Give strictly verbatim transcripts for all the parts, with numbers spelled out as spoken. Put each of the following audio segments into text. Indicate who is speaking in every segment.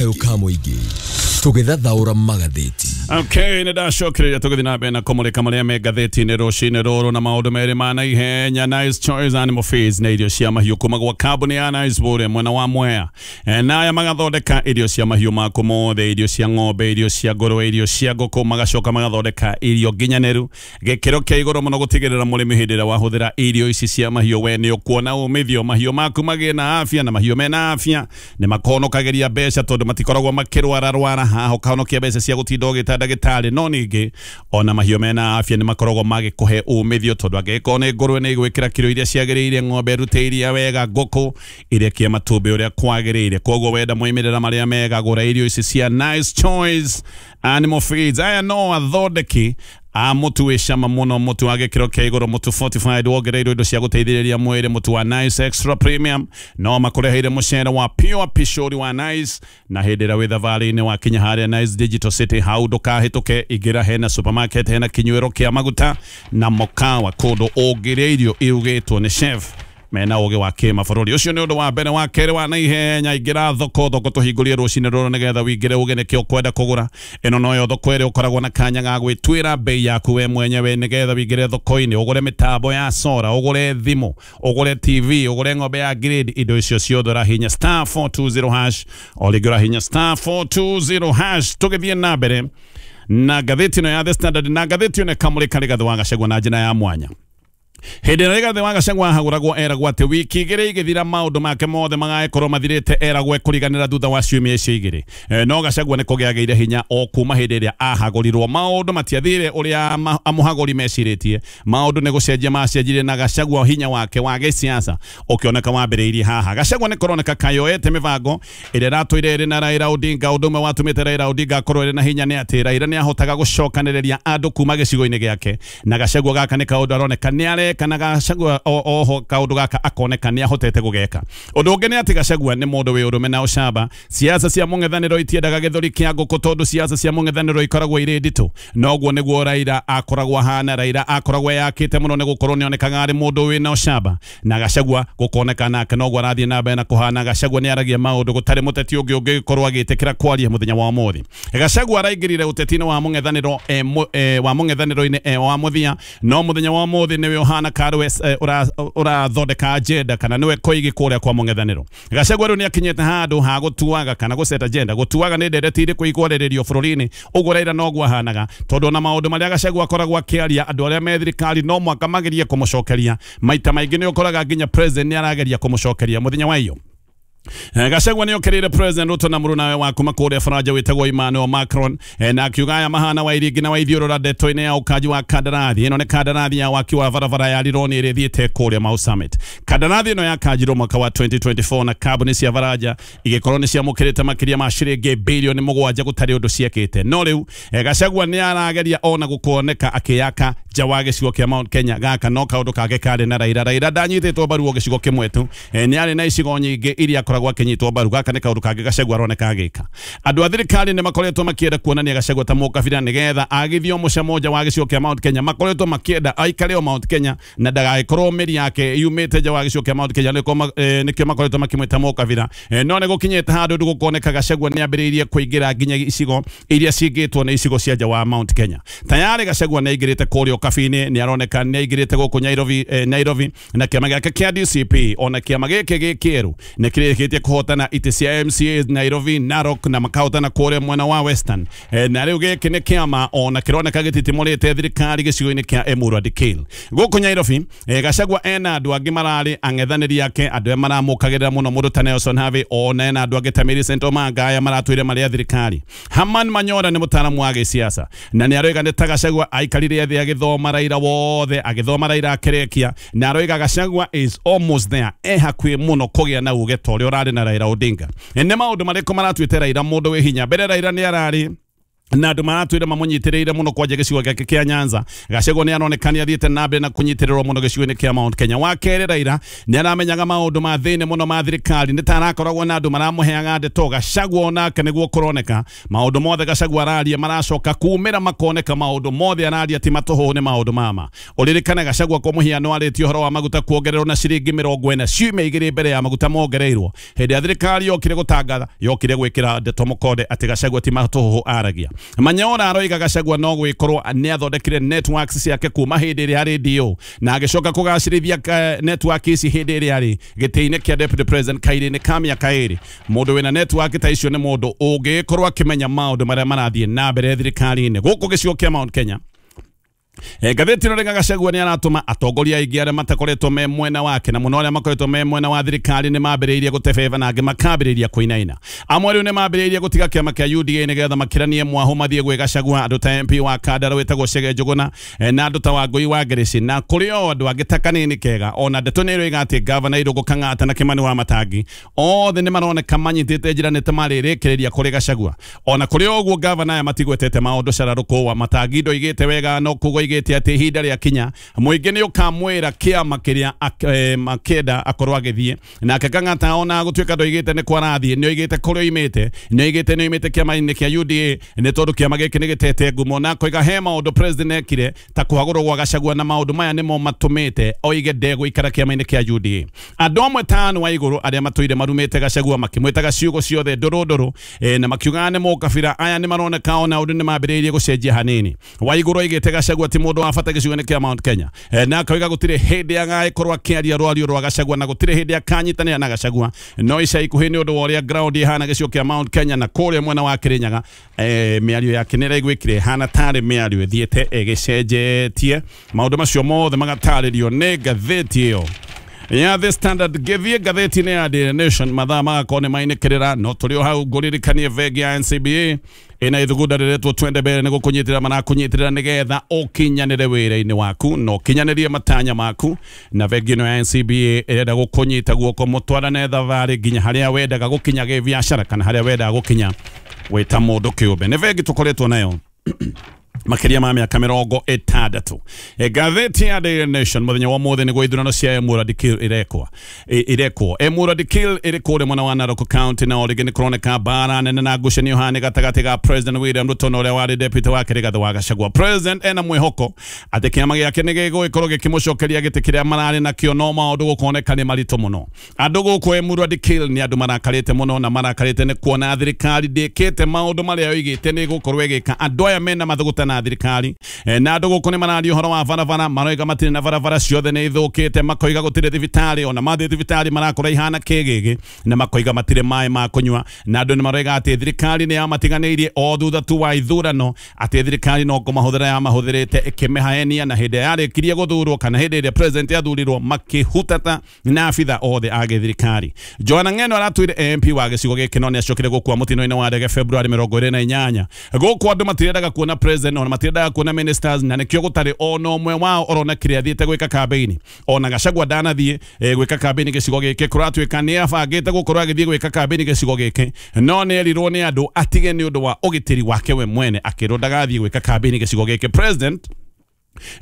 Speaker 1: Kayũ ka mũingĩ tũgĩthathaũra magathĩti.
Speaker 2: Okay, nĩ ndacokereria tũgĩthiĩ na mbere na kũmũrĩka marĩa me ngathĩti-inĩ rũcinĩ rũrũ na maũndũ merĩ ma naihenya. Nice Choice Animal Feeds na irio cia mahiũ kuma gwa kambuni ya Nice Bũrĩa mwena wa Mwea. E, naya magathondeka irio cia mahiũ maku mothe, irio cia ng'ombe, irio cia ngũrwe, irio cia ngũkũ, magacoka magathondeka irio nginyanĩru gĩkĩro kĩa igũrũ mũno gũtigĩrĩra mũrĩmi hĩndĩ ĩrĩa wahũthĩra irio ici cia mahiũ we nĩ ũkuona umithio, mahiũ maku magĩe na afya, na mahiũ mena afya nĩ makonokagĩria mbeca tondũ matikoragwo makĩrwara rwara haha ũkahonokia mbeca cia gũtinda ũgĩta ndagĩtarĩ. No ningĩ ona mahiũ mena afya nĩ makoragwo magĩkũhe umithio tondũ angĩkorwo nĩ ngũrwe nĩ igwĩkĩra kiro iria ciagĩrĩire, ng'ombe ĩrute iria wega, ngũkũ irekie matumbĩ ũrĩa kwagĩrĩire. Koguo wenda moimĩrĩra marĩa mega, gũra irio ici cia Nice Choice Animal Feeds. Aya no athondeki a mũtu wĩ cama mũno, mũtu wa gĩkĩro kĩa igũrũ, mũtu fortified wongereirwo indo cia gũteithĩrĩria mwĩrĩ, mũtu wa Nice Extra Premium. No makũreheire mũcere wa pure pishori wa Nice, na hĩndĩ ĩrĩa wĩ thabarĩ-inĩ wakinya harĩa Nice Digital City hau ndũkahĩtũke, ingĩra hena supermarket, hena kinyuĩro kĩa maguta na mũkawa, kũndũ ũngĩrĩa irio irugĩtwo nĩ chef mena ũgĩ wa kĩmabũrũri. Ũcio nĩ ũndũ wa mbere. Wa kerĩ wa naihenya, ingĩra thoko, thoko tũhingũrie rũcinĩ rũrũ nĩgetha wĩingĩre uge nĩkĩo ũkwenda kũgũra. Ĩno noyo thoko ĩrĩa ũkoragwo na kanya ga gwĩtuĩra bei yaku we mwenyewe nĩgetha wĩingĩre thoko-inĩ ũgũre mĩtambo ya sora, ũgũre thimũ, ũgũre T V, ũgũre ng'ombe ya grade, indo icio ciothe ũrahinya star four two zero hash, o rĩngĩ ũrahinya star four two zero hash. Tũgĩthiĩ na mbere na ngathĩti ĩno ya The Standard, na ngathĩti ĩno ĩkamũrĩka Rigathĩ wa Gachagua na njĩra ya mwanya. Hĩndĩ ĩrĩa Rigathĩ wa Gachagua ahagũragwo eragwo atĩ wiki igĩrĩ igĩthira maũndũ make mothe magagĩkorwo mathirĩte, eragwo ekũriganĩra thutha wa ciumia icio igĩrĩ. E, no Gachagua nĩ kũgĩagĩire hinya o kuma hĩndĩ ĩrĩa ahagũrirwo. Maũndũ matiathire ũrĩa amũhagũri mecirĩtie, maũndũ nĩ gũcenjia macenjirie, na Gachagua hinya wake wa gĩsiasa ũkĩoneka wambĩrĩirie haha. Gachagua nĩ kũroneka kayoete mĩbango ĩrĩa ĩratũire ĩrĩ na Raila Odinga. Ũndũ ũmwe watũmĩte Raila Odinga akorwo ĩrĩ na hinya nĩ atĩ Raila nĩ ahotaga gũcokanĩrĩria andũ kuma gĩcigo-inĩ gĩake, na Gachagua gaka nĩ kaũndũ aroneka nĩ areka, na Gachagua oho kaũndũ gaka akoneka nĩ ahotete gũgeka. Ũndũ ũngĩ nĩ atĩ Gachagua nĩ mũndũ wĩ ũrũme na ũcamba. Siasa cia mũng'ethanĩro itiendaga gĩthũri kĩa ngũkũ tondũ siasa cia mũng'ethanĩro ikoragwo irĩ nditũ. Noguo nĩguo Raila akoragwo ahana. Raila akoragwo eyakĩte mũno nĩ gũkorwo nĩonekaga arĩ mũndũ wĩna ũcamba, na Gachagua gũkoneka nake noguo arathiĩ na mbere na kũhana. Gachagua nĩ aragia maũndũ gũtarĩ mũteti ũngĩ ũngĩkorwo agĩtĩkĩra kwaria mũthenya wa ũmũthĩ. Gachagua araingĩrire ũteti-inĩ wa mũng'ethanĩro e, wa mũng'ethanĩro-inĩ e, wa mũthia, no mũthenya wa ũmũthĩ nĩwe ũhana karwe ũrathondeka agenda kana nĩwe koigi kũrĩa kwa mũng'ethanĩro. Gachagua rĩu nĩakinyĩte handũ ha gũtuaga kana gũceta agenda. Gũtuaga nĩ ndereti irĩkũ ikwarĩrĩrio bũrũri-inĩ, ũguo Raila noguo ahanaga, tondũ ona maũndũ marĩa Gachagua akoragwo akĩaria andũ arĩa me thirikari no mwaka magerie kũmũcokeria. Maita maingĩ nĩ ũkoraga nginya president nĩ arageria kũmũcokeria mũthenya wa iyo. Gachagua nĩ okĩrĩire President Ruto na mũrũnawe wa kuma kũrĩa Faranja wĩtagwo Emmanuel Macron, na akiuga aya mahana wa iringi na wa ithiũrũra ndeto-inĩ ya ũkanji wa kandarathi. Ĩno nĩ kandarathi ya waki wa barabara ya Rironi ĩrĩa ĩthiĩte kũrĩa Mau Summit. Kandarathi ĩno yakanjirwo mwaka wa twenty twenty-four na kambuni cia Faranja igĩkorwo nĩ ciamũkĩrĩte makĩria ma ciringi bilioni mũgwanja gũtarĩ ũndũ ciekĩte. No rĩu Gachagua nĩ arageria ona gũkuoneka akĩyaka nja wa gĩcigo kĩa Mount Kenya. Gaka no kaũndũ kangĩ karĩ na Raila. Raila ndanyitĩtwo mbaru o gĩcigo kĩmwe tu, nĩ arĩ na icigo nyingĩ iria akoragwo akĩnyitwo mbaru. Gaka nĩ kaũndũ kangĩ Gachagua aroneka agĩka. Andũ a thirikari nĩ makoretwo makĩenda kuonania Gachagua ta mũkabira nĩgetha agithio mũcamo nja wa gĩcigo kĩa Mount Kenya. Makoretwo makĩenda aikare o Mount Kenya na ndagagĩkorwo mĩri yake yumĩte nja wa gĩcigo kĩa Mount Kenya, nĩkĩo makoretwo makĩmwĩta mũkabira. No nĩ gũkinyĩte handũ gũkoneka Gachagua nĩ ambĩrĩirie kũingĩra nginya icigo iria cingĩtwo nĩ icigo cia nja wa Mount Kenya. Tayari Gachagua nĩ aingĩrĩte kũrĩa Ũkabi-inĩ, nĩ aroneka nĩ aingĩrĩte gũkũ Nairobi, eh, Nairobi na kĩama gĩake kĩa D C P ona kĩama gĩkĩ gĩkĩerũ nĩ kĩrĩkĩtie kũhotana itĩ cia M C As Nairobi, Narok na makahotana kũrĩa mwena wa Western. E, na rĩu gĩkĩ nĩ kĩama ona kĩroneka gĩtitimũrĩte thirikari gĩcigo-inĩ kĩa Emurua Dikirr. Gũkũ Nairobi, e, Gachagua ena andũ angĩ mararĩ ang'ethanĩri ake, andũ arĩa maramũkagĩrĩra mũno mũndũ ta Nelson Havi, ona ena andũ angĩ ta Millicent Omanga aya maratũire marĩ a thirikari. Herman Manyora nĩ mũtaaramu wa gĩsiasa na nĩ aroiga nĩ ta Gachagua aikarire thĩ agĩthoma Raila wothe, agĩthoma Raila akĩrĩkia, na aroiga Gachagua is almost there, e hakuhĩ mũno kũgĩa na uge ta ũrĩa ũrarĩ na Raila Odinga. Nĩ maũndũ marĩkũ maratuĩte Raila mũndũ wĩ hinya? Mbere Raila nĩ ararĩ Na andũ maratwĩra mamũnyitĩrĩire mũno kwanja gĩcigo gĩake kĩa Nyanza. Gachagua nĩ aroneka nĩ athiĩte na mbere na kũnyitĩrĩrwo mũno gĩcigo-inĩ kĩa Mount Kenya. Wa kerĩ, Raila nĩ aramenyaga maũndũ ma thĩinĩ mũno ma thirikari, nĩ ta arakoragwo na andũ maramũheaga ndeto. Gachagua onake nĩguo kũroneka maũndũ mothe Gachagua araria maracoka kumĩra makoneka maũndũ mothe araria ti matũhũ, nĩ maũndũ mama. Ũririkane Gachagua kwa mũhiano arĩtie ũhoro wa maguta kuongererwo na ciringi mĩrongo ĩna ciumia igĩrĩ mbere ya maguta mongereirwo. Hĩndĩ ya thirikari yokire gũtangatha, yokire gwĩkĩra ndeto mũkonde atĩ Gachagua ti matũhũ aragia. Manyora aroiga Gachagua no gwikorwo nĩ athondekire networks ciake kuma hĩndĩ ĩrĩa arĩ D O na agĩcoka kũgacĩrithia network ici hĩndĩ ĩrĩa arĩ gĩtĩ-inĩ kĩa deputy president kairĩ-inĩ ka mĩaka ĩrĩ. Mũndũ wĩna network ta icio nĩ mũndũ ũngĩkorwo akĩmenya maũndũ marĩa marathiĩ na mbere thirikari-inĩ gũkũ gĩcigo kĩa Mount Kenya. E, ngathĩti ĩno rĩga Gachagua nĩ aratũma atongoria aingĩ arĩa matakoretwo me mwena wake na mũno arĩa makoretwo me mwena wa thirikari nĩ mambĩrĩirie gũtebeba na angĩ makambĩrĩria kũinaina. Amwe rĩu nĩ mambĩrĩirie gũtiga kĩama kĩa U D A nĩgetha makĩranie mwahũ mathiĩ gwĩ Gachagua, andũ ta M P wa Kandara wĩtagwo Chege Njũgũna na andũ ta Wangũi wa Ngĩrĩci na kũrĩ o andũ angĩ ta Kanini Kega. Ona ndeto nĩ ĩroiga atĩ gavana Irũngũ Kang'ata na Kimani wa Matangi othe nĩ maroneka manyitĩte njĩra nĩ ta marĩrĩkĩrĩria kũrĩ Gachagua. Ona kũrĩ ũguo gavana aya matigwetete maũndũ cararũkũ wa Matangi ndoigĩte wega no kugo igĩte atĩ ihinda rĩa kinya mũingĩ nĩ ũkamwĩra kĩama kĩrĩa makĩenda akorwo agĩthiĩ. Nake Kang'ata ona gũtuĩka ndoigĩte nĩ kwarathiĩ, nĩ oigĩte kũrĩa oimĩte, nĩ oigĩte nĩ oimĩte kĩama-inĩ kĩa U D A nĩ tondũ kĩama gĩkĩ nĩ gĩtete ngumo, na akoiga he maũndũ president ekire ta kũhagũrwo gwa Gachagua na maũndũ maya nĩmo matũmĩte oige ndegũikara kĩama-inĩ kĩa U D A. Andũ amwe ta Anne Waigũrũ arĩa matũire marumĩte Gachagua makĩmwĩtaga ciugo ciothe ndũrũ ndũrũ na makiugaga nĩ mũkabira, aya nĩ maroneka ona ũndũ nĩ mambĩrĩirie gũcenjia hanini. Waigũrũ oigĩte Gachagua ti mũndũ wa bata gĩcigo-inĩ kĩa Mount Kenya na akauga gũtirĩ hĩndĩ agagĩkorwo akĩaria rwario rwa Gachagua na gũtirĩ hĩndĩ akanyitanĩra na Gachagua. No ica ikuhĩ nĩ ũndũ wa ũrĩa ground ĩhana gĩcigo kĩa Mount Kenya na kũrĩa mwena wa Kĩrĩnyaga, mĩario yake nĩ ĩraiguĩkire ĩhana tarĩ mĩario ĩthiĩte ĩgĩcenjetie. Maũndũ macio mothe magatarĩrio nĩ ngathĩti ĩyo ya The Standard. Gĩthiĩ ngathĩti-inĩ ya Daily Nation mathaa magakorwo nĩ mainĩkĩrĩra, no tũrĩ o hau ngũririkanie bengi ya N C B A ĩna ithugunda rĩretwo Twende Mbere nĩ gũkũnyitĩrĩra marakũnyitĩrĩra nĩgetha ũkinyanĩre wĩra-inĩ waku na ũkinyanĩrie matanya maku. Na bengi ĩno ya N C B A ĩrenda gũkũnyita guoko mũtwarane thabarĩ nginya harĩa wendaga gũkinya gĩbiacara kana harĩa wendaga gũkinya wĩ ta mũndũ kĩũmbe. Nĩ bengi tũkoretwo nayo makĩria ma mĩaka mĩrongo ĩtandatũ. Ngathĩti ya Daily Nation mũthenya wa ũmũthĩ nĩguo ithurano cia Emurua Dikirr irekwo irekwo Emurua Dikirr ĩrĩ kũrĩa mwena wa Narok County, na o rĩngĩ nĩ kũroneka mbara nene na ngucanio hane gatagatĩ ga President William Ruto na ũrĩa warĩ deputy wake Rigathĩ wa Gachagua. President ena mwĩhoko atĩ kĩama gĩake nĩ gĩgũgĩkorwo gĩkĩmũcokeria gĩtĩ kĩrĩa mararĩ nakĩo, no maũndũ gũkoneka nĩ maritũ mũno. Andũ gũkũ Emurua Dikirr nĩ andũ marakarĩte mũno na marakarĩte nĩ kuona thirikari ndĩkĩte maũndũ marĩa yoigĩte nĩ ĩgũkorwo ĩgĩka. Andũ aya mena mathũgũta na thirikari na andũ gũkũ nĩ mararia ũhoro wa barabara, maroiga matirĩ na barabara ciothe nĩ ithũkĩte, makoiga gũtirĩ thibitarĩ, ona mathiĩ thibitarĩ marakora ihana kĩgĩgĩ, na makoiga matirĩ maĩ ma kũnyua. Na andũ nĩ maroiga atĩ thirikari nĩ yamatiganĩirie o thutha tu wa ithurano, atĩ thirikari no kũmahũthĩra yamahũthĩrĩte ĩkĩmĩhaenia, na hĩndĩ yarĩkirie gũthurwo kana hĩndĩ ĩrĩa president athurirwo makĩhutata na abitha othe a gĩthirikari. Joanna Ng'eno aratwire M P wa gĩcigo gĩkĩ no nĩ acokire gũkua mũtino-inĩ wa ndege February mĩrongo ĩrĩ na inyanya. Gũkũ andũ matirendaga kuona president ona matirendaga kuona ministers, na nĩkĩo gũtarĩ ona ũmwe wao ũronekire athiĩte gwĩka kambĩini. Ona Gachagua ndanathiĩ gwĩka kambĩini gĩcigo gĩkĩ, kũratuĩka nĩ abangĩte gũkorwo agĩthiĩ gwĩka kambĩini gĩcigo gĩkĩ, no nĩ erirwo nĩ andũ atige nĩ ũndũ wa ũgitĩri wake we mwene, akĩrwo ndagathiĩ gwĩka kambĩini gĩcigo gĩkĩ. President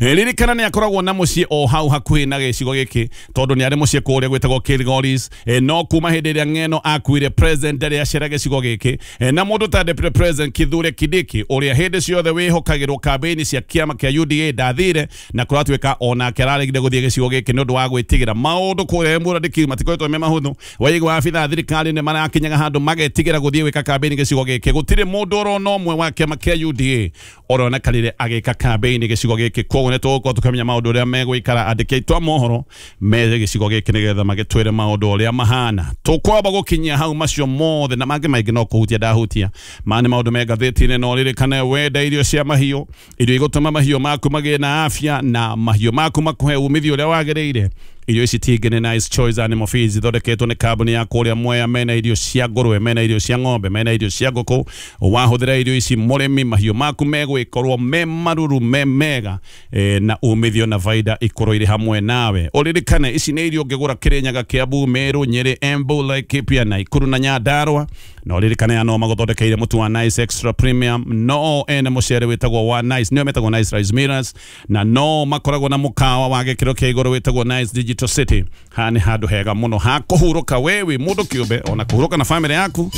Speaker 2: ririkana nĩ akoragwo na mũciĩ o hau hakuhĩ na gĩcigo gĩkĩ tondũ nĩ arĩ mũciĩ kũrĩa gwĩtagwo Kilgoris, no kuma hĩndĩ ĩrĩa Ng'eno akuire president ndarĩ acera gĩcigo gĩkĩ. Na mũndũ ta deputy president Kithure Kindiki ũrĩa hĩndĩ ciothe wĩhokagĩrwo kambĩini cia kĩama kĩa U D A ndathire, na kũratuĩka onake araregire gũthiĩ gĩcigo gĩkĩ nĩ ũndũ wa gwĩtigĩra maũndũ kũrĩa Emurua Dikirr matikoretwo me mahũthũ. Waigua abitha thirikari nĩ marakinyaga handũ magetigĩra gũthiĩ gwĩka kambĩini gĩcigo gĩkĩ. Gũtirĩ mũndũ ũrona ũmwe wa kĩama kĩa U D A ũronekanire agĩka kambĩini gĩcigo gĩkĩ. Koguo nĩ tũgũkorwo tũkĩmenya maũndũ ũrĩa megũikara andĩki aitũ a mohoro me gĩcigo gĩkĩ nĩgetha magĩtwĩre maũndũ ũrĩa mahana. Tũkwamba gũkinyia hau macio mothe na mangĩ maingĩ no kũhutia ndahutia ma nĩ maũndũ me ngathĩti-inĩ. No ririkane wenda irio cia mahiũ, irio igũtũma mahiũ maku magĩe na afya na mahiũ maku makũhe umithio ũrĩa wagĩrĩire. Irio ici tingĩ nĩ Nice Choice Animal Feeds, ithondeketwo nĩ kambuni ya kũrĩa Mwea. Mena irio cia ngũrwe, mena irio cia ng'ombe, mena irio cia ngũkũ. Wahũthĩra irio ici mũrĩmi, mahiũ maku megũgĩkorwo me maruru, me mega, e, na umithio na faida ikorwo irĩ hamwe nawe. Ũririkane ici nĩ irio ũngĩgũra Kĩrĩnyaga, Kiambu, Meru, Nyĩrĩ, Embu, Laikipia, Nakuru na Nyandarua, Na ũririkane no magũthondekeire mũtu wa Nice Extra Premium, no ene mũcere wĩtagwo wa Nice, nĩo metagwo Nice Rice Millers, na no makoragwo na mũkawa wa gĩkĩro kĩa igũrũ wĩtagwo Nice Digital City. Haha nĩ handũ hega mũno ha kũhurũka wewe mũndũ kĩũmbe, ona kũhurũka na family yaku.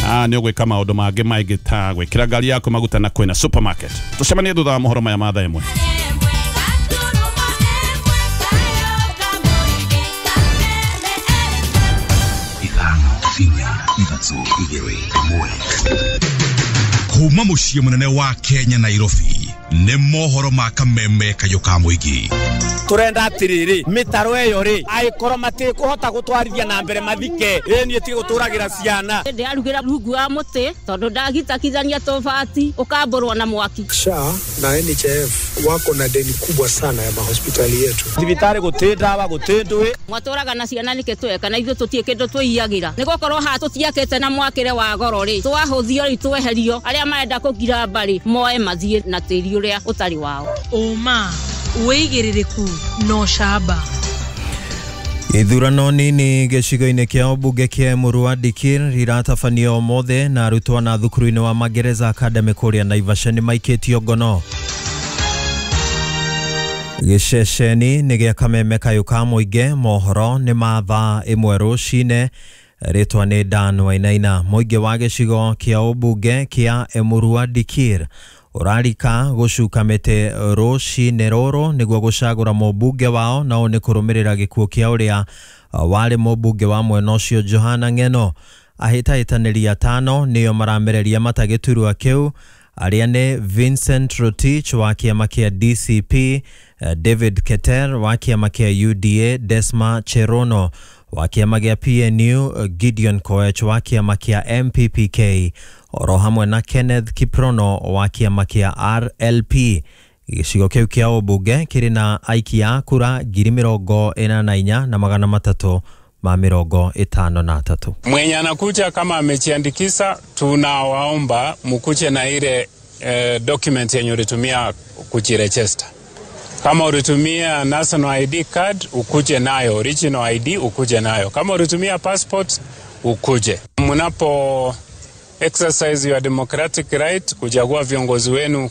Speaker 2: Ah, nĩ ũgwĩka maũndũ mangĩ maingĩ ta gwĩkĩra ngari yaku maguta na kwĩna supermarket. Tũcemanie thutha wa mohoro maya ma thaa ĩmwe.
Speaker 3: Kuma muciĩ mũnene wa Kenya Nairobi nĩ mohoro ma kameme kayũ ka mũingĩ.
Speaker 4: Turenda atiriri mitaro eyo ri aikorwo matikuhota gutwarithia na mbere mathike ĩ niĩ ti guturagira ciana.
Speaker 5: Ndiarugira rungu wa muti tondu ndagitakithania tobati ukamburwo na mwaki.
Speaker 6: S H A na N H I F wako na deni kubwa sana ya mahospitali yetu.
Speaker 4: Thibitari guti ndawa guti ndui
Speaker 5: mwaturaga na ciana nike tweka na ithuĩ tutie kindu twiyagira nigukorwo ha tutiakite na mwakire wa goro ri twahuthio ri tweherio aria marenda kugira mbari moe mathie na tiri uria utari wao.
Speaker 7: Uma wĩigĩrĩrĩku no camba.
Speaker 8: Ithurano nini gĩcigo-inĩ kĩa ũmbunge kĩa Emurua Dikirr iratabanio ũmũthĩ na arutwo na thukuru-inĩ wa Magereza Academy kũrĩa Naivasha nĩ maikĩtio ngono. Gĩceceni nĩ gĩa kameme kayũ ka mũingĩ mohoro nĩ ma thaa ĩmwe rũcinĩ. Rĩtwa nĩ Dan Wainaina. Mũingĩ wa gĩcigo kĩa ũmbunge kĩa Emurua Dikirr urarika gucuka mĩtĩ rũcinĩ rũrũ nĩguo gũcagũra mũmbunge wao, nao nĩ kũrũmĩrĩra gĩkuũ kĩa ũrĩa warĩ mũmbunge wa mwena ũcio Johana Ng'eno. Ahĩtahĩtanĩri atano nĩo maramereria mata gĩturwa kĩu, arĩa nĩ Vincent Rotich wa kĩama kĩa D C P, David Keter wa kĩama kĩa U D A, Desma Cherono wa kĩama gĩa P N U, Gideon Koech wa kĩama kĩa M P P K, oro hamwe na Kenneth Kiprono wa kĩama kĩa R L P. Gĩcigo kĩu kĩa ũmbunge kĩrĩ na aikia a kura ngiri mĩrongo ĩna na inya na magana matatũ ma mĩrongo ĩtano na atatũ.
Speaker 9: Mwenye anakuja kama amejiandikisha, tunawaomba mukuje na ile eh, document yenye ulitumia kujiregister. Kama ulitumia national I D card ukuje nayo, original I D ukuje nayo. Kama ulitumia passport ukuje. Mnapo exercise your democratic right kuchagua viongozi wenu,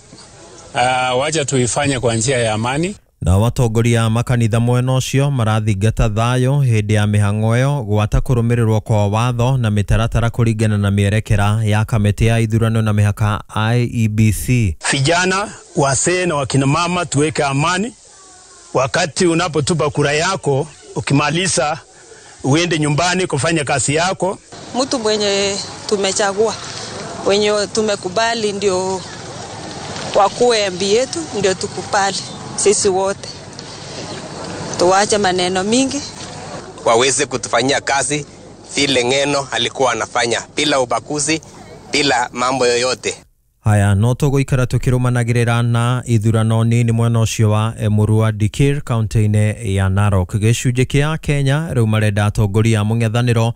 Speaker 9: uh, wacha tuifanye kwa njia ya amani.
Speaker 8: Na watongoria makanitha mwena ũcio marathingata thayũ hĩndĩ ya mĩhang'o ĩyo gwata kũrũmĩrĩrwo kwa watho na mĩtaratara kũringana na mĩerekera ya kamĩtĩ ya ithurano na mĩhaka I E B C.
Speaker 10: Vijana, wazee na wakina mama tuweke amani. Wakati unapotupa kura yako, ukimaliza uende nyumbani kufanya kazi yako.
Speaker 11: Mtu mwenye tumechagua, wenye tumekubali ndio wakuwe M P yetu, ndio tukubali sisi wote. Tuache maneno mingi.
Speaker 12: Waweze kutufanyia kazi vile Ng'eno alikuwa anafanya, bila ubaguzi, bila mambo yoyote.
Speaker 8: Haya, no tũgũikara tũkĩrũmanagĩrĩra na ithurano nini mwena ũcio wa Emurua Dikirr kaunti-inĩ ya Narok. Gĩcunjĩ kĩa Kenya rĩu marenda atongoria a mũng'ethanĩro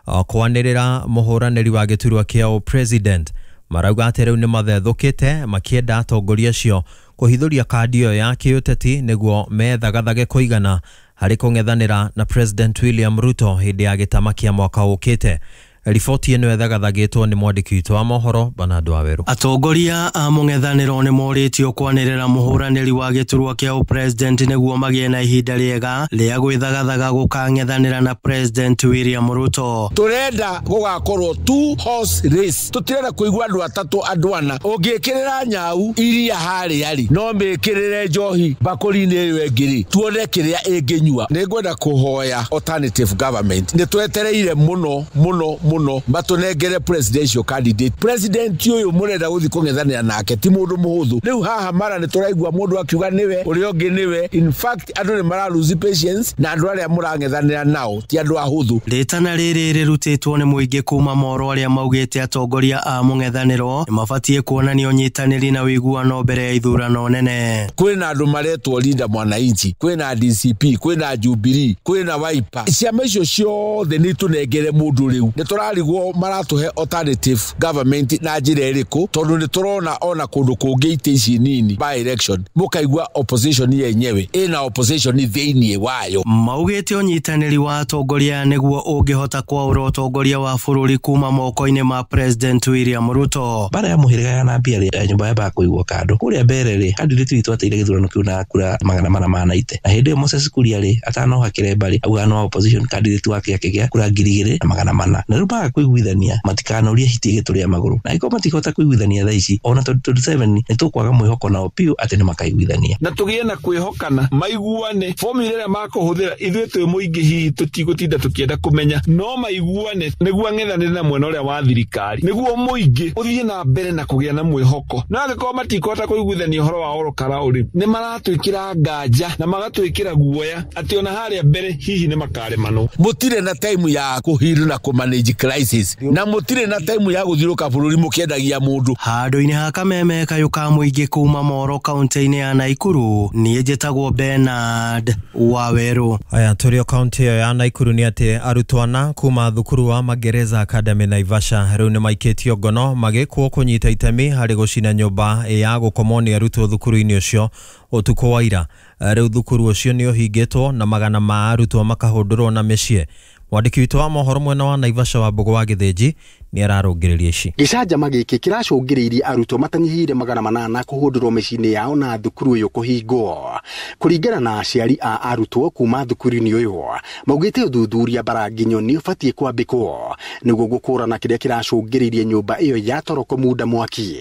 Speaker 8: kwanĩrĩra mũhũranĩri wa gĩturwa kĩa president. Marauga atĩ rĩu nĩ mathethũkĩte makĩenda atongoria acio kũhithũria kandi ĩyo ya kĩũteti nĩguo methagathage kũigana harĩ kũng'ethanĩra na President William Ruto hĩndĩ ya gĩtama kĩa mwaka ũkĩte. Riboti ĩno ĩthagathagĩtwo nĩ mwandĩki witũ wa mohoro Bernard Waweru.
Speaker 13: Atongoria a mũng'ethanĩro nĩ morĩtio kwanĩrĩra mũhũranĩri wa gĩturwa kĩa president nĩguo magĩe na ihinda rĩega rĩa gwĩthagathaga gũkang'ethanĩra na President William Ruto.
Speaker 14: Tũrenda gũgakorwo two horse race, tũtirenda kũigua andũ atatũ andũ ana. Ũngĩkĩrĩra nyau iria harĩa rĩ, no mĩkĩrĩre njohi mbakũri-inĩ ĩyo ĩngĩ rĩ, tuone kĩrĩa ĩngĩnyua. Nĩngwenda kũhoya alternative government, nĩ twetereire mũno mũno mũno matunengere presidential candidate. President uyu murenda guthi kung'ethanira nake ti mundu muhuthu. Riu haha mara ni turaigua mundu akiuga niwe uria ungi niwe. In fact andu ni mara lose patience na andu aria murang'ethanira nao ti andu ahuthu.
Speaker 13: Ritana riri rirutitwo ni muingi kuma moro aria maugite atongoria a mung'ethaniro ni mabatie kuonania unyitaniri na wiguano mbere ya ithurano nene.
Speaker 14: Kwina andu maretwo Linda Mwananchi, kwina D C P, kwina Jubilee, kwina Wiper. Ciama icio ciothe ni tunengere mundu riu. Ni Turarigwo maratuhe alternative government na njira iriku tondu ni turona ona kundu kungi ite ici nini by election mukaigua opposition yenyewe ina opposition thiini wayo.
Speaker 13: Maugite unyitaniri wa atongoria niguo ungihota kwaura utongoria wa bururi kuma moko-ini ma President William Ruto.
Speaker 15: Bara ya muhiriga ya nambia ri nyumba ya bakuigwo kando kuria mbere ri candidate witu ateire githurano kiu na kura magana mana mana ite na hindi Moses Kuria ri atano hakire mbari auga no opposition candidate wake akigia kura ngiri igiri na magana mana na riu baga kuiguithania matikanorie hiti gituria maguru na iko matikota kuiguithania thaa ici ona twenty twenty-seven ni tukwaga mwihoko nao piu ati ni makaiguithania
Speaker 16: na tugie na kwihokana maiguane formula ĩrĩa makũhũthĩra ithuĩ twĩ mũingĩ hihi tũtigũtinda tũkĩenda kũmenya no maiguane nĩguo ang'ethanĩre na mwena ũrĩa wa thirikari nĩguo mũingĩ ũthiĩ na mbere na kũgĩa na mwĩhoko na angĩkorwo matikũhota kũiguithania ũhoro wa Ol Kalou rĩ nĩ maratwĩkĩra nganja na magatwĩkĩra guoya atĩ ona harĩa mbere hihi nĩ makaremanwo.
Speaker 14: Mũtirĩ na time ya kũhiru na kũmanage crisis na mũtirĩ na time ya gũthiũrũka bũrũri mũkĩendagia mũndũ.
Speaker 13: Handũ-inĩ ha kameme kayũ ka mũingĩ kuma Moro kaunti-inĩ ya Naikuru niĩ njĩtagwo Bernard Waweru.
Speaker 8: Aya tũrĩ o kaunti ĩyo ya Naikuru nĩ atĩ arutwo ana kuma thukuru wa Magereza Academy Naivasha rĩu nĩ maikĩtio ngono magĩkwo kũnyita itemi harĩ gũcina nyũmba ya gũkomwo nĩ arutwo thukuru-inĩ ũcio ũtukũ wa ira. Rĩu thukuru ũcio nĩ ũhingĩtwo na magana ma arutwo makahũndũrwo na mĩciĩ. Mwandĩki witũ wa mohoro mwena wa Naivasha wa Mbũgũ wa Gĩthĩnji nĩ ararũngĩrĩria ici.
Speaker 17: Gĩcanjama gĩkĩ kĩracũngĩrĩirie arutwo matanyihĩire magana manana kũhũndũrwo mĩciĩ-inĩ yao na thukuru ũyũ kũhingwo. Kũringana na aciari a arutwo kuma thukuru-inĩ ũyũ maugĩte ũthuthuria mbaranginyo nĩ ũbatiĩ kwambĩkwo nĩguo gũkũrana kĩrĩa kĩracũngĩrĩirie nyũmba ĩyo ya toro kũmunda mwaki.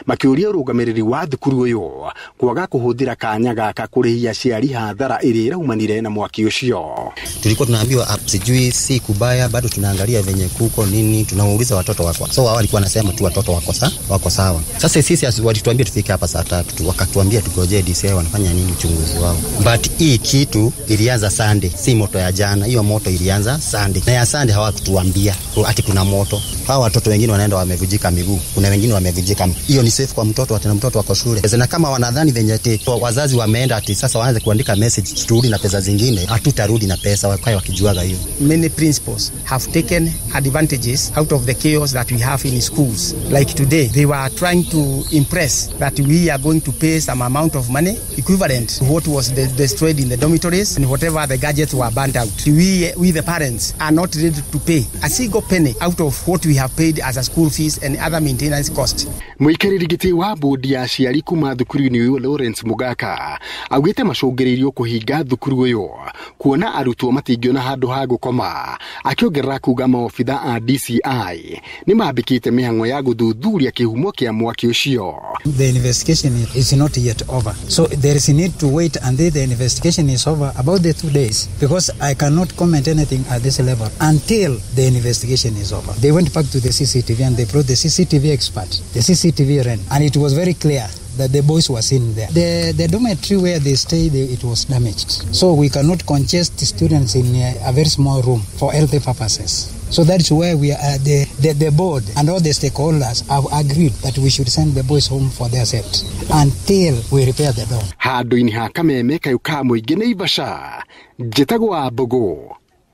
Speaker 17: Makĩũria ũrũgamĩrĩri wa thukuru ũyũ kwaga kũhũthĩra kanya gaka kũrĩhia aciari hathara ĩrĩa ĩraumanire na mwaki ũcio.
Speaker 18: Tulikuwa tunaambiwa sijui si kubaya, bado tunaangalia venye kuko nini, tunauliza watoto wako. So wao walikuwa wanasema tu watoto wako sawa, wako sawa. Sasa sisi walituambia tufike hapa saa tatu, wakatuambia tugoje D C I wanafanya nini uchunguzi wao. But hii kitu ilianza Sunday, si moto ya jana, hiyo moto ilianza Sunday. Na ya Sunday hawakutuambia ati kuna moto. Hawa watoto wengine wanaenda wamevujika miguu, kuna wengine wamevujika. Hiyo ni safe kwa mtoto, ati na mtoto wako shule. Na kama wanadhani venye ati wazazi wameenda ati sasa waanze kuandika message turudi na pesa zingine, hatutarudi na pesa, wakae wakijuaga hiyo.
Speaker 19: Many principals have taken advantages out of the chaos that we have in schools. Like today, they were trying to impress that we are going to pay some amount of money equivalent to what was de- destroyed in the dormitories and whatever the gadgets were burnt out. We, we the parents, are not ready to pay a single penny out of what we have paid as a school fees and other maintenance costs.
Speaker 17: Mũikarĩri gĩtĩ wa bodi ya aciari kuma thukuru-inĩ ũyũ Lawrence Mugaka augĩte macũngĩrĩirio kũhinga thukuru ũyũ kuona arutwo matingĩona handũ ha gũkoma, akĩongerera kuga maobitha a D C I nĩ mambĩkĩte mĩhang'o ya gũthuthuria kĩhumo kĩa mwaki ũcio.
Speaker 20: The investigation is not yet over, so there is a need to wait until the investigation is over, about the two days, because I cannot comment anything at this level until the investigation is over. They went back to the C C T V and they brought the C C T V expert, the C C T V ran, and it was very clear that the boys were seen there. The, the dormitory where they stayed, it was damaged. So we cannot congest students in a, a very small room for healthy purposes. So that's where we are, the, the, the board and all the stakeholders have agreed that we should send the boys home for their safety until we repair the dorm.
Speaker 17: Handũ-inĩ ha kameme kayũ ka mũingĩ Naivasha, njĩtagwo Mbũgũ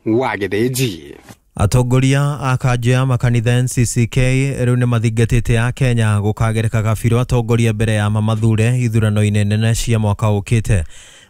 Speaker 17: wa Gĩthĩnji.
Speaker 8: Atongoria a kanjũ ya makanitha N C C K rĩu nĩ mathingatĩte a Kenya gũkagereka kabirũ atongoria mbere ya mamathure ithurano-inĩ nene cia mwaka ũkĩte.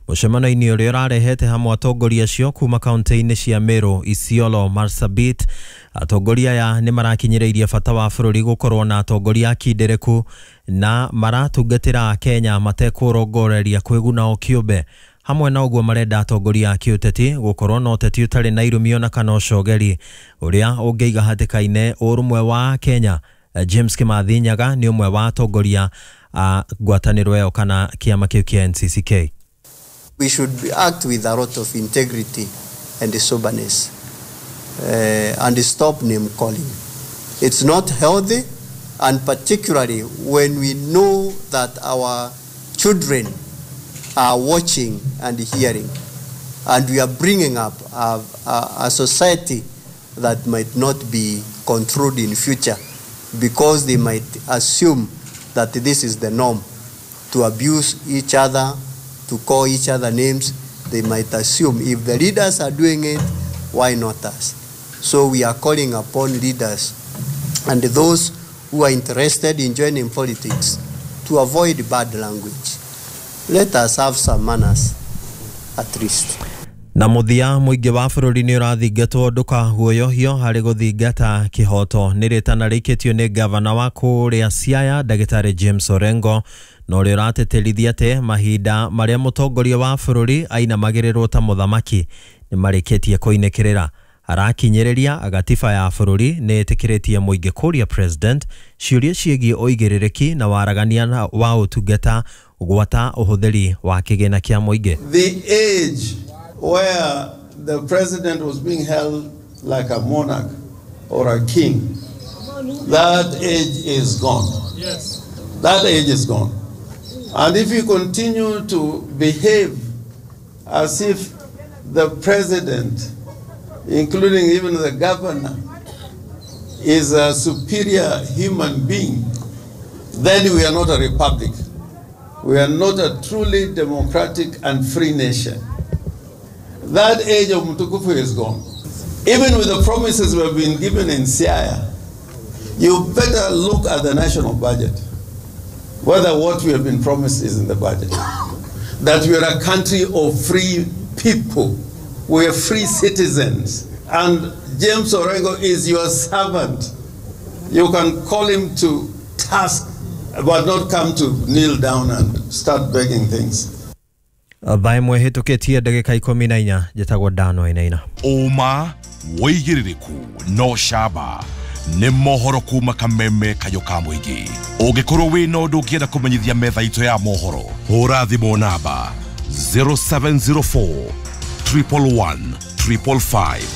Speaker 8: Mũcemanio-inĩ ũrĩa ũrarehete hamwe atongoria acio kuma kaunti-inĩ cia Meru, Isiolo, Marsabit, atongoria aya nĩ marakinyĩrĩirie bata wa bũrũri gũkorwo na atongoria akindĩrĩku na maratungatĩra Kenya matekũrongoreria kwĩguna o kĩũmbe. Hamwe na ũguo marenda atongoria a kĩũteti gũkorwo na ũteti ũtarĩ na irumio na kana ũcogeri ũrĩa ũngĩiga hatĩka-inĩ ũrũmwe wa Kenya. James Kimathi Nyaga nĩ ũmwe wa atongoria a ngwatanĩro ĩyo kana kĩama kĩu kĩa N C C K.
Speaker 21: We should act with a lot of integrity and soberness uh, and stop name calling. It's not healthy, and particularly when we know that our children are watching and hearing, and we are bringing up a, a, a society that might not be controlled in future because they might assume that this is the norm, to abuse each other, to call each other names. They might assume if the leaders are doing it, why not us? So we are calling upon leaders and those who are interested in joining politics to avoid bad language. Let us have some manners, at least.
Speaker 8: Na muthia muingi wa bururi ni urathingatwo ndukaguoyohio hari guthingata kihoto ni ritana rikitio ni gavana wa kuria Siaya Ndagitari James Orengo na uria urateterithia ati mahinda maria mutongoria wa bururi ainamagirirwo ta muthamaki ni marikitie kuinikirira. Arakinyiriria agatiba ya bururi ni itikiritie muingi kuria president ciuria ciĩgiĩ uigĩrĩrĩki na waragania wa ũtungata gwata ũhũthĩri wa kĩgĩna kĩa mũingĩ.
Speaker 1: The age where the president was being held like a monarch or a king, that age is gone.
Speaker 22: Yes.
Speaker 1: That age is gone. And if you continue to behave as if the president, including even the governor, is a superior human being, then we are not a republic. We are not a truly democratic and free nation. That age of Mutukufu is gone. Even with the promises we have been given in Siaya, you better look at the national budget, whether what we have been promised is in the budget. That we are a country of free people. We are free citizens. And James Orengo is your servant. You can call him to task, but not come to kneel down and start begging things.
Speaker 8: Thaa ĩmwe hĩtũkĩtie ndagĩka ikũmi na inya njĩtagwo Dan Wainaina.
Speaker 3: Ũma wĩigĩrĩrĩku no camba nĩ mohoro kuma kameme kayũ ka mũingĩ. Ũngĩkorwo wĩna ũndũ ũngĩenda kũmenyithia metha itũ ya mohoro, hũra thimũ namba zero seven zero four triple one triple five.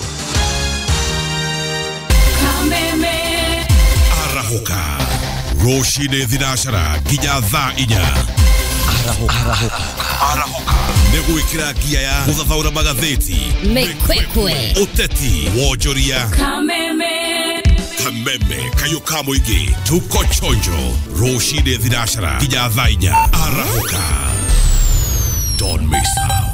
Speaker 7: Kameme
Speaker 3: arahũka rũcinĩ thinacara nginya thaa inya. Arahũka arahũka nĩ gwĩkĩra ngia ya gũthathaũra magathĩti,
Speaker 7: mĩkwekwe,
Speaker 3: ũteti, wonjoria.
Speaker 7: Kameme
Speaker 3: kameme kayũ ka mũingĩ, tuko chonjo rũcinĩ thinacara nginya thaa inya. Arahũka, don't miss out.